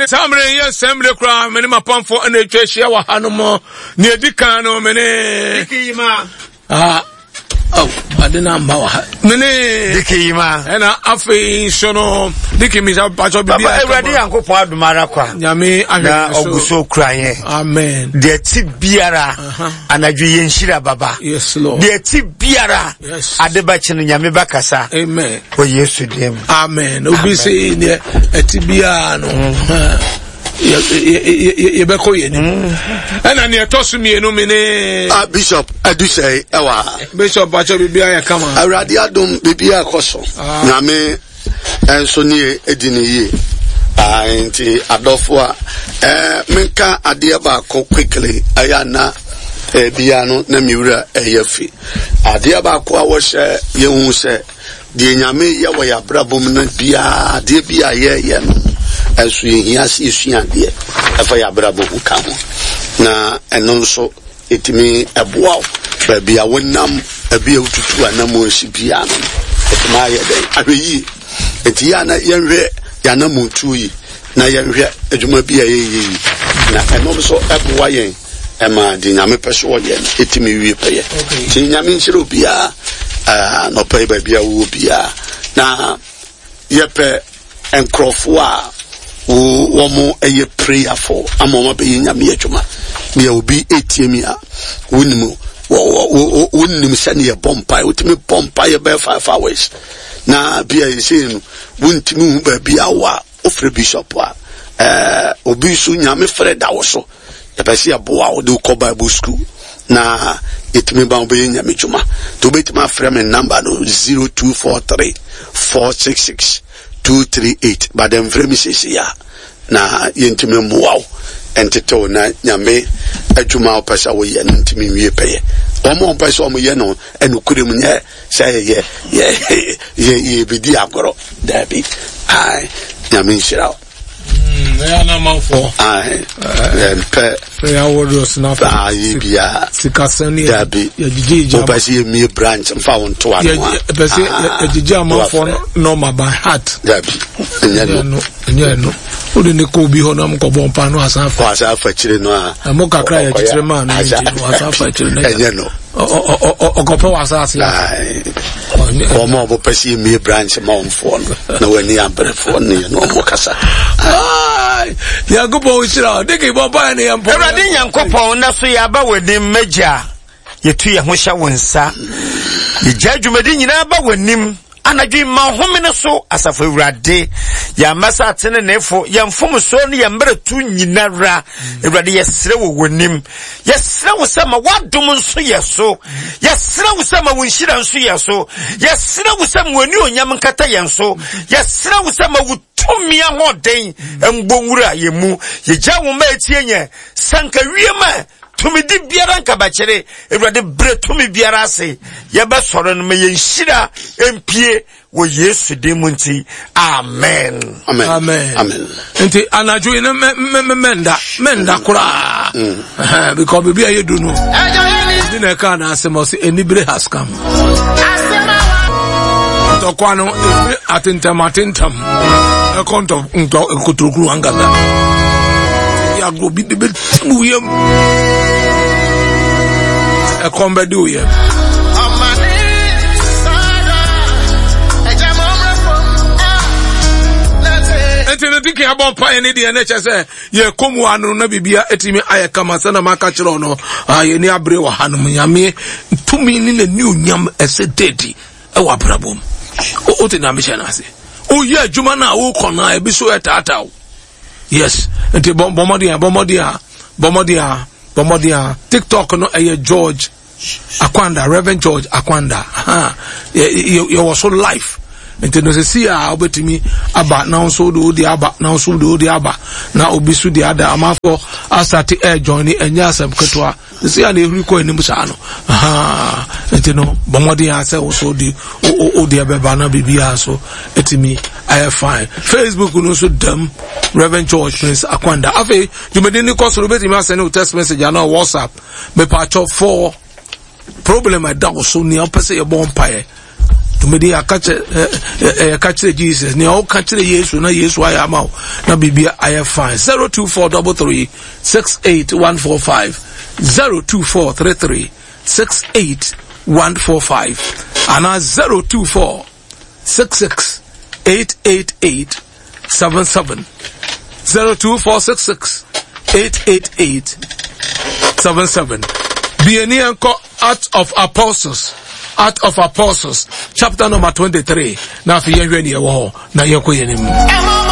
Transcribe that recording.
saa mmerɛ yi yɛ nsɛm mmerɛ koraa me ne m'apamfoɔ ɛna atwa ahyia wɔ ha no mu nea ɛdi kan no me ne ah, oh, ade no amba wɔ ha me ne Diki Yima. ɛna afei nso no Diki misa patwɔ biribi Papa Awurade Nyankopɔn adom ara kwa. Nyame ahwɛ Na ɔgu so kura yɛn. Amen. Deɛ ti biara anadwo yɛn nhyira baba. Yes Lord. Deɛ ti biara yes. ade bɛkye no Nyame bɛkasa. Amen. Wɔ Yesu din mu. Amen. Obi se deɛ ɛti biara no. Yɛbɛkɔ yɛn anim. Ɛna deɛ ɛtɔ so mmienu mi ne. Ah Bishop Adusɛe ɛwɔ ha. Bishop Bakyɛ biribi ayɛ kama. Awurade adom biribi akɔ so. Ah. Nyame nso ne edi ne yie. Ah, nti adɔfo a eh, menka adeɛ baako quickly ɛyɛ ana ebia no na me wura ɛyɛ fi. Adeɛ baako a wɔhyɛ yɛhu sɛ Deɛ Nyame yɛ wɔ yɛabrabɔ mu no biara, adeɛ bi a yɛyɛ no, ɛnso yɛhia sɛ yɛsua adeɛ ɛfa yɛabrabɔ ho ka ho. Na ɛno nso ɛtumi ɛboa wo baabi a wonam, baabi a wotutu anammɔn si biara no, ɛtumi ayɛ dɛn ahwɛ yie. Nti yɛ a na yɛnhwɛ yɛanammɔntuo yi na yɛnhwɛ adwuma bi a yɛyɛ yi, na ɛno nso ɛboa yɛn ɛma deɛ Nyame pɛ so ɔyɛ no ɛtumi wie pɛyɛ. Nti Nyame nhyira obiara anɔpa yi baabi a wowɔ biara, na yɛpɛ nkurɔfoɔ a wɔn ɛyɛ prayerfo ama wɔn abɛyɛ Nyame adwuma. Deɛ obi ɛtie mi a wonim wonim sɛdeɛ yɛbɔ mpaeɛ, wotumi bɔ mpaeɛ bɛyɛ 5 hours na bia yɛsei no wontumi hu baabi a wɔ a wofrɛ bishop a ɛɛ obi nso Nyame frɛ da wo so. Yɛpɛ sɛ yɛboa wo de wokɔ Bible school na yɛtumi ba wobɛyɛ nyame dwuma. Nti wobɛtumi afrɛ me number no 0243 466 238 but mfrɛ me seesei a na yɛntumi mmoa wo ntetew na nyame adwuma a wopɛ sɛ woyɛ no ntumi nwie pɛyɛ. Wɔn a wɔpɛ sɛ wɔyɛ no ɛnokorɛ mu nyɛ sɛ yɛ yɛ yɛ yɛbɛdi agorɔ daabi. Ae, nyame nhyira wo. Ɛyɛ anamanfoɔ. Yɛmpɛ. Prayer warriors na afɔ. Ayi bia. Sikasɛm ni dabi. Yɛgyegye gya. Wopɛ sɛ yɛmie branch mfa wo nto ano a. Yɛpɛ sɛ yɛgyegye amanfoɔ nɔɔma by heart. Dabi. Ɛnyɛ no. Ɛnyɛ no. Wode ne kɔ obi hɔ na mokɔbɔ mpa no asan fa. Asan fa akyire no a. Ɛmo kakra yɛkyekyere maa no nti no asan fa akyire no. Ɛnyɛ no. Ɔkɔpɛ wɔ asase. Wɔn a wɔpɛ sɛ yɛmie branch ma wɔn foɔ no na wɔn ani aberefoɔ ne yɛn wɔn kasa. Nyankopɔn nhyira wo. Deke bɔ mpaeɛ ne yɛn mpɔ. Awurade Nyankopɔn na so yɛaba w'anim m'agya yɛtu yɛn ho hyɛ wo nsa yɛgya dwumadi nyinaa ba w'anim anadwo yi ma ɔhome no so asafo awurade yɛn mmasa ateneneefo yɛn mfomsoɔ ne yɛn mmerɛto nyinara awurade yɛsrɛ wɔ w'anim Yɛsrɛ wo sɛ ma w'adom nso yɛ so. Yɛsrɛ wo sɛ ma wo nhyira nso yɛ so. Yɛsrɛ wo sɛ ma w'anuonyam nkata yɛn so. Yɛsrɛ wo sɛ ma wo tumi ahoɔden mbɔ nwura yɛn mu. Yɛgya wo mma etie yɛn. Sanka wiem a tumidi biara nkabakyere. Awurade brɛ tumi biara ase. Yɛbɛsɔre no ma yɛn nhyira mpie wɔ yesu din mu nti amen amen amen nti anadwo yi no mɛnda mɛnda koraa mm. because baabi a yɛdu no bi na ɛka na asɛm ɔsɛ anibere has come ntɔkwa no ɛfiri atentam atentam ɛkɔ ntɔ ntɔ nkotorokuru ankasa yɛagorɔ bi de bɛtim wo yam ɛkɔm bɛde wo yam nti no dike abɔ mpaeɛ ne deɛ ne kyɛ sɛ yɛkɔ mu ano na biribia ɛtumi ayɛ kama sɛ na maka kyerɛ no yɛni abere wɔ ha nom nyame tumi ne n'ani onyam ɛsɛ dadi ɛwɔ abrabɔ mu wote na mehyɛ no ase woyɛ adwuma no a wokɔ no a ebi so ɛtaataa wo yes nti bɔ mmɔden a bɔ mmɔden a bɔ mmɔden a bɔ mmɔden a tiktok no ɛyɛ george akwanda reverend george akwanda ha yɛwɔ so life nti no sisi a wobɛtumi aba na nso wode wode aba na nso wode wode aba na obi so de ada amanfoɔ asate ɛɛjoin ne ɛnyɛ asɛm ketewa Sisi a na ehuri kɔ anim saa no ahaa nti no bɔ mmɔden a sɛ woso de wo deɛ bɛba na biribiara so etumi ayɛ fine. Facebook no nso dam Reverend George Prince Akwanda. Afei dwumadi no kɔ soro betumi asɛne wo text message anaa WhatsApp. Mepatwɔ for problem ɛda wo so nea wopɛ sɛ yɛbɔ mpaeɛ. Dwumadi yɛaka kyerɛ yɛka kyerɛ Jesus nea ɔka kyerɛ Yesu na Yesu ayɛ ama wo na biribi ayɛ fine. 02433 68145 02433 68145 anaa 024 66 888 77 02466 888 77 Bieni nkɔ Acts of Apostles Act of Apostles chapter number 23 na afei yɛnhwɛ nea ɛwɔ hɔ na yɛnkɔ yɛn anim.